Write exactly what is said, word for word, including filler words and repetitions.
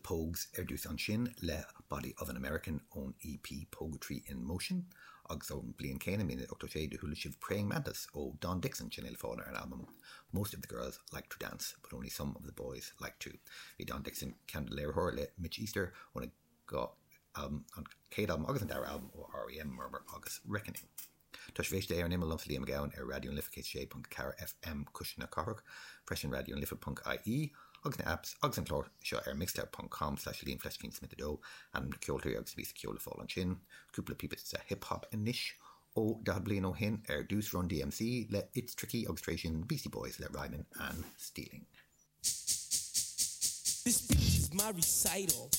Pogues ar dtús ansin le Body of an American ón EP Poguetry in Motion agus ón bliain céanna míle ochtó sé do chuala sibh Praying Mantis ó Don Dixon sin le fáil ar an album. Most of the girls like to dance, but only some of the boys like to. Bhí Don Dixon ceann léiritheoir le Mitch Easter óna go um, an chéad album agus an dara album ó R.E.M. Murmur agus Reckoning. Tá sibh ar an imeall liomsa Liam Mac Gabhann ar Raidió na Life céad sé ponc ceathair FM Cuisle na Cathrach, freisin Raidió na Life.ie agus na apps agus an clár seo ar mixcloud.com slash Liam Fleiscín Smith a dó an na ceoltóirí agus bhí ceol le fáil ansin, cúpla píosa hip-hop anois ó daichead bliain ó shin ar dtús Run DMC le It's Tricky agus tar éis sin Beastie Boys le Rhymin' and Stealing. This speech is my recital.